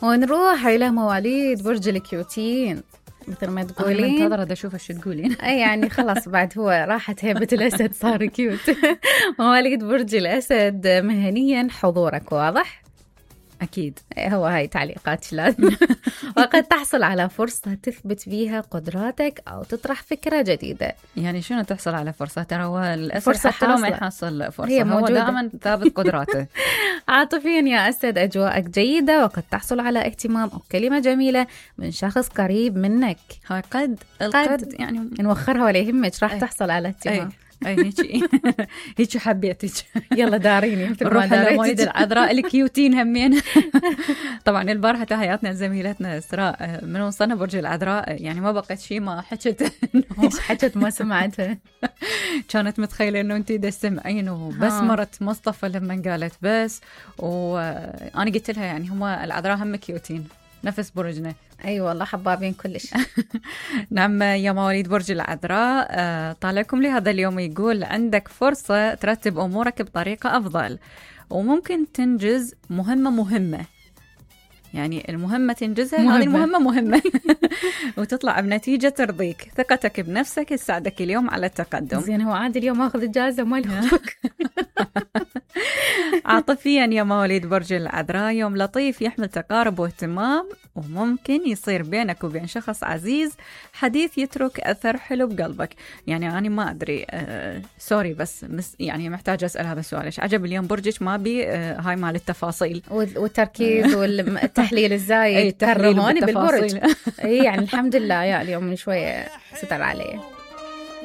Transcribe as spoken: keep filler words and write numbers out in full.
ونروح إلى مواليد برج الكيوتين مثل ما تقولين. أنا منتظرة دا أشوف شو تقولين. أي يعني خلاص بعد هو راحت هيبة الأسد صار كيوت. مواليد برج الأسد مهنيا حضورك واضح؟ أكيد هو هاي تعليقات لازم. وقد تحصل على فرصة تثبت فيها قدراتك أو تطرح فكرة جديدة. يعني شنو تحصل على فرصة؟ ترى هو الأسد حتى لو ما يحصل فرصة هي هو دائما ثابت قدراته. عاطفيا يا أسد أجواءك جيدة، وقد تحصل على اهتمام أو كلمة جميلة من شخص قريب منك. هاي قد القد يعني نوخرها ولا يهمك، راح تحصل على اهتمام. اي هيك هيك حبيتك. يلا داريني نروح لمواليد العذراء الكيوتين همين. طبعا البارحة تحياتنا لزميلتنا إسراء من وصلنا برج العذراء، يعني ما بقيت شيء ما حكت. ايش حكت ما سمعتها. كانت متخيلة انه انتي دا تسمعين، وبس مرت مصطفى لما قالت بس، وانا قلت لها يعني هم العذراء هم كيوتين نفس برجنا. اي أيوة والله حبابين كلش. نعم يا مواليد برج العذراء، طالعكم لهذا اليوم يقول عندك فرصة ترتب أمورك بطريقة أفضل، وممكن تنجز مهمة مهمة. يعني المهمة تنجزها، هذه المهمة مهمة. وتطلع بنتيجة ترضيك. ثقتك بنفسك تساعدك اليوم على التقدم. زين هو عادي اليوم أخذ الجائزة ما يخطك. عاطفيا يا مواليد برج العذراء يوم لطيف يحمل تقارب واهتمام، وممكن يصير بينك وبين شخص عزيز حديث يترك أثر حلو بقلبك. يعني أنا ما أدري آه سوري بس مس يعني محتاجة أسأل هذا السؤال، إيش عجب اليوم برجك ما بي آه هاي مال التفاصيل والتركيز والتحليل الزايد. تكرموني بالبرج. اي يعني الحمد لله يا اليوم من شوية ستر عليه.